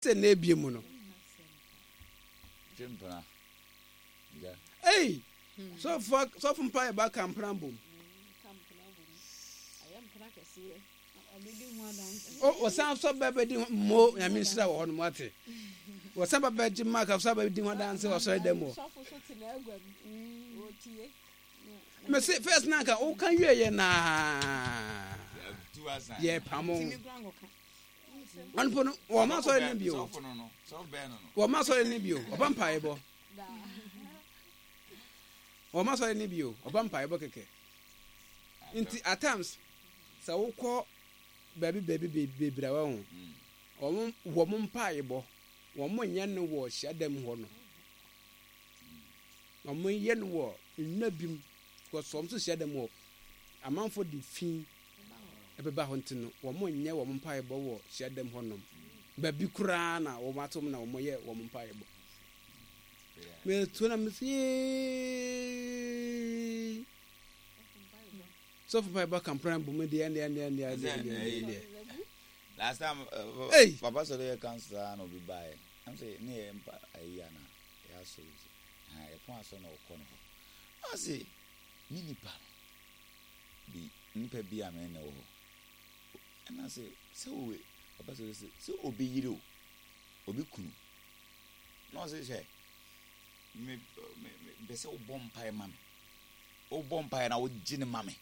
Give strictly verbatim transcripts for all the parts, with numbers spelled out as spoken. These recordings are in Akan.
Sɛ na ebie mu no. Ei! Sɔfo sɔfo mpa yɛ ba ka mpena bom. O wɔsan sɔ bɛ bɛdi ho mo Nyame nhyira wɔ hɔ no mo ate. Wɔsan ba bɛgye ma ka sɔ bɛdi ho adanse wɔ sɔre dɛm hɔ. Mese first na nka woka wie yɛ naa. Yɛ pamo. Ɔno po no wɔn ma sɔre ne bio. Wɔn ma sɔre ne bio. Ɔba mpaebɔ. Wɔn ma sɔre ne bio. Ɔba mpaebɔ kɛkɛ. Nti at times sɛ wokɔ baabi baabi bebree a wɔn wɔn wɔn mpaebɔ wɔn nyɛ no wɔ hyiadam hɔ no. Wɔn yɛ no wɔ nnwa bi mu because wɔn nso hyiadam hɔ amanfo de fi ɛbɛba hɔ nti no, wɔnyɛ wɔn mpaebɔ wɔ hyiadam hɔnom. Baabi koraa na wɔn atom na wɔyɛ wɔn mpaebɔ. Metuo na mesi yee. Sɔfo mpaebɔ kampana bu mu deɛ deɛ deɛ deɛ deɛ deɛ deɛ. Last time, uh, Hey! Papa sɔrɔ yɛ council saa na obi baeɛ. Ɛm sɛ ne yɛ mpa ayi ana yɛ asɔre sɛ ha yɛ pɔn asɔre na ɔkɔ no hɔ. Ɔse me nipa no bi nipa bi a me ne wɔ hɔ. Ɛna sɛ sɛ owe papa sɛ sɛ sɛ obi yere o obi kunu na ɔsɛ hwɛ me me me mpɛ sɛ wobɔ mpae ma me wobɔ mpae na wogye ne ma me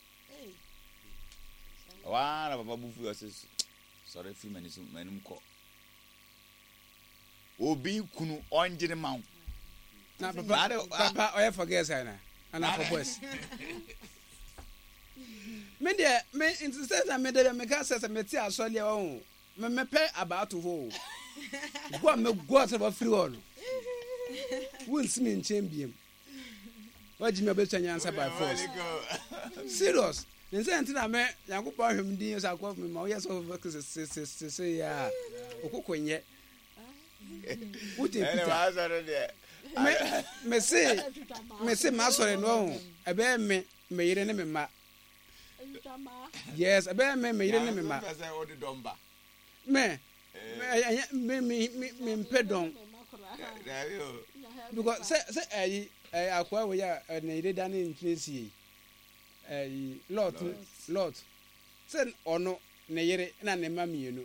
waa na papa bu fu ɔsɛ sɔre firi m'ani so m'anim kɔ obi kunu ɔngye ne ma wo. Na papa papa ɔyɛ for girls ana ana for boys. Me deɛ me nti sɛ na me deɛ meka sɛ sɛ mete asɔre deɛ ɔho me mepɛ abaato hɔ o go a me go a sɛ wɔfiri hɔ no wonsi me nkyɛn biem wagye me abɛsua nyansa by force serious ne nsɛ nti na me Nyankopɔn ahwɛ me din sɛ akɔ me ma woyɛ sɛ sesesese yɛ a okoko nyɛ wote Peter me me se me se m'asɔre no ɔho ɛbɛyɛ me me yere ne me mma. Yes, ɛbɛyɛ me me yere ne me mma. Me ɛyɛ me me me me mpɛ dɔn. Because sɛ sɛ ɛyi ɛyɛ akoa wɔ yɛ a ne yere da ne nkyene sie ɛyi Lot Lot sɛ ɔno ne yere na ne mma mmienu.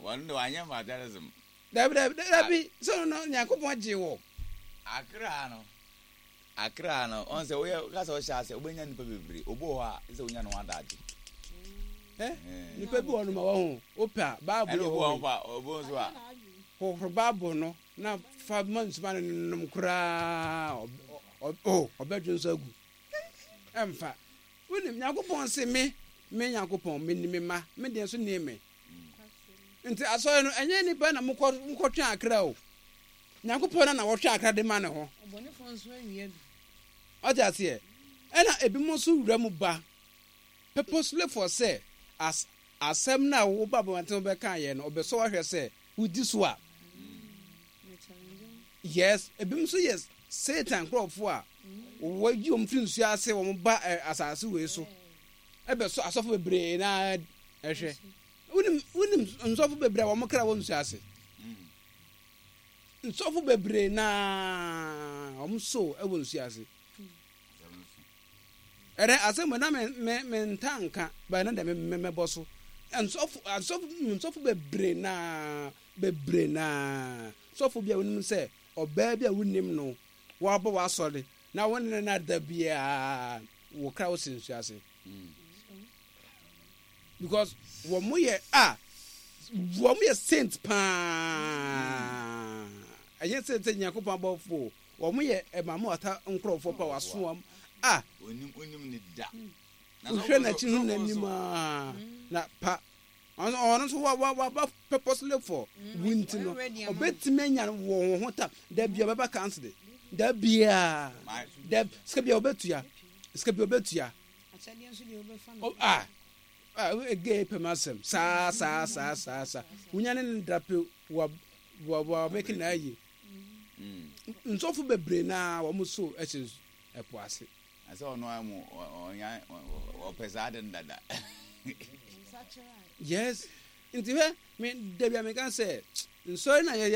Wɔn de wanyɛ materialism. Dabi dabi dabi sɛ ɔno Nyankopɔn gye wɔ. Akra no. Akra no, ɔn sɛ woyɛ ka sɛ ɔhyɛ ase wobɛnya nipa bebree. Obi wɔ hɔ a sɛ wonya ne ho adagye. Eh, nipa bi wɔ no ma wɔ ho wopɛ a Bible Ɛna yɛ obi hɔ wɔ yi. hɔ a obi nso a Hohoro Bible no na fa ma nsuma no nom koraa o ɔbɛdwo nso agu. Ɛmfa. Wonim Nyankopɔn se me me Nyankopɔn me ni me ma me deɛ nso nie me. Nti asɔre no ɛnyɛ nipa na mokɔ mokɔtwe akra o. Nyankopɔn na na wɔtwe akra de ma ne ho. Ɔte aseɛ. Ɛna ebinom nso wura mu ba purposely for sɛ as asɛm no a woba abɔnten bɛka yɛ no ɔbɛsɔ wahwɛ sɛ wodi so a. Yes, ebinom nso yɛ Satan nkurɔfoɔ a wɔyi wɔn firi nsuo ase wɔn ba ɛ asase wei so ɛbɛsɔ asɔfo bebree na ɛhwɛ. Wonim wonim nsɔfo bebree a wɔn kra wɔ nsuo ase. Nsɔfo bebree na wɔn so wɔ nsuo ase. Ɛnɛ asɛm na me me me nta nka bɛn na dɛ me me bɔ so. Nsɔfo asɔfo nsɔfo bebree na bebree na sɔfo bi a wonim sɛ ɔbaa bi a wonim no wɔabɔ w'asɔre na wɔn ne no ada biara wɔ kra wɔ si nsuo ase. Because wɔn yɛ a wɔn yɛ saint paa ɛnyɛ saint sɛ Nyankopɔn abɔfo wɔn yɛ ɛmaame wata nkorɔfoɔ pa waso wɔn a onim onim ne da. Wohwɛ n'akyi ho n'anim a na pa ɔno ɔno nso wa wa waba purposely for wo nti no ɔbɛtumi anya wɔ wɔn ho tam da bia ɔbɛba council da bia da sika bia ɔbɛtua sika bia ɔbɛtua a a gay pɛm asɛm saa saa saa saa saa wonya ne ne drape wa wa wa mɛki na ayi nsɔfo bebree na wɔn so ɛhyɛ ɛpo ase. Sɛ ɔno ara mu ɔnya ɔpɛ saa de no dada. Yes, Nti hwɛ, me dabi a meka sɛ nsɔre na yɛyɛ.